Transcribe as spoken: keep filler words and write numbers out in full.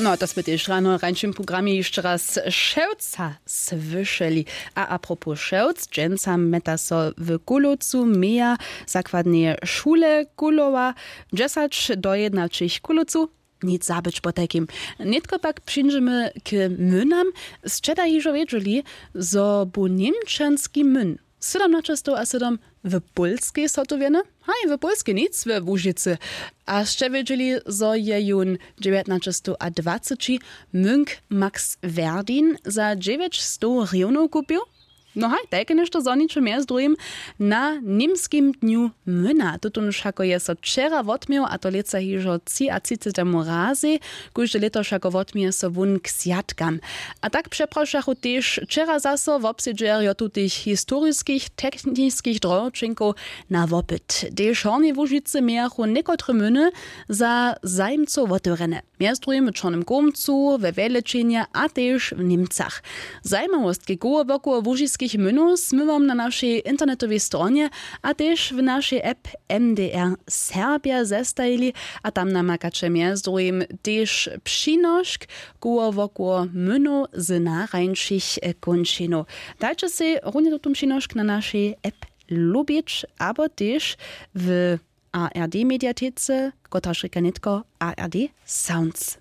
No to smy tež rano w rańšim programje hišće raz Šewca słyšeli. A apropos Šewc, dźensa mjeta so w Kulowcu meja zakładneje šule Kulowa, dźesać do jednaćich w Kulowcu. Nic zabyć potajkim. Nětko pak přińdźemy k mynam. Sće da hižo wědźeli, zo bu němčanski myn sydomnaćestow a sydom w Pólskej zhotowjeny? Haj, w Pólskej nic, we Łužicy. A sće wědźeli, zo je jón dźewjatnaćestow a dwaceći munk Max Werdin za dźewjećstow hrywnjow kupił? No haj, tajke něšto zhoniće mjez druhim na němskim dnju myna. Tutónž hako je so wčera wotměł, a to lětsa hižo třiatřicetemu razej. Kóžde lěto wšako wotměje so wón k swjatkam. A tak přeprošachu tež wčera zaso wobsedźerjo tutych historiskich techniskich drohoćenkow na wopyt. Tež w Hornjej Łužicy mějachu někotre myny za zajimcow wotewrjene, mjez druhim w Čornym Kołmcu, we Wjelečenje a tež w Němcach. Zajimawostki koło wokoło łužiskich mynow smy wam na našej internetowej stronje a tež w našej app M D R Serbja zestajili. A tam namakaće mjez druhim tež přinošk koło wokoło mynow z narańšich kónčinow. Dajće sej runje tutón přinošk na našej app lubić abo tež w A R D mediatece, kotraž rěka nětko A R D Sounds.